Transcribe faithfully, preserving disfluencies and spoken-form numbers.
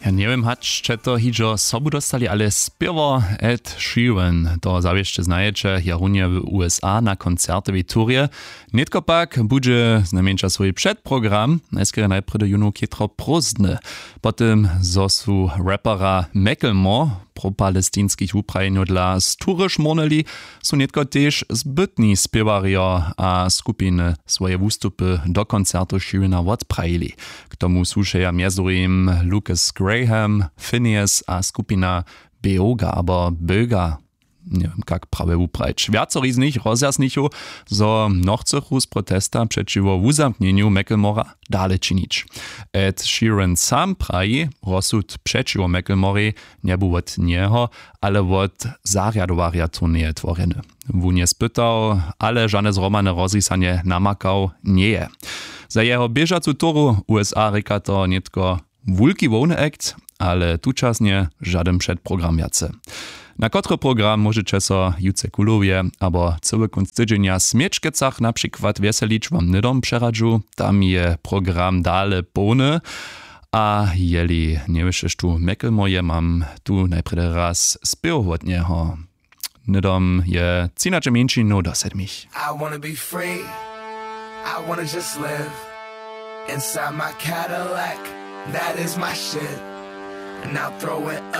Ja njewěm hač će to hižo sobu dostali, ale spěwo Ed Sheeran to zawěsće znajeće, je runje w USA na koncertowej turje. Nětko pak budźe znajmjeńša swój předprogram najskerje najprjedy jónu chětro prózdny. Po tym zo su rappera Macklemore pro palestinskich wuprajenjow dla stury šmórnyli, su nětko tež zbytni spěwarjo a skupiny swóje wustupy do koncertow Sheerana wotprajili. K tomu słušeja mjez druhim Lucas Graham, Phineas a skupina Beoga abo Böga. Njewěm kak prawje wuprajić wjacory z nich rozjasnichu, zo nochcychu z protesta přećiwo wuzamknjenju Macklemora dale činić. Ed Sheeran sam praji, rozsud přećiwo Macklemorej njebu wot njeho, ale wot zarjadowarja turneje tworjeny. Wón je spytał, ale žane zhromadne rozrisanje namakał njeje. Za jeho běžacu toru USA rěka to nětko wulki hłowny akt, ale tučasnje žadyn předprogram wjace. Na kotry program móžeće so jutře kulowje abo cyły kónc tydźenja w směčkecach na přikład wjeselić wam hnydom přeradźu, tam je program dale połny. A jeli njewěšeštwu mekkelmoje, mam tu najprjedy raz spěw wot njeho. Hnydom je třinaće mjeńšinow do sedmich. I wanna be free. I wanna just live inside my Cadillac. That is my shit. And I'll throw it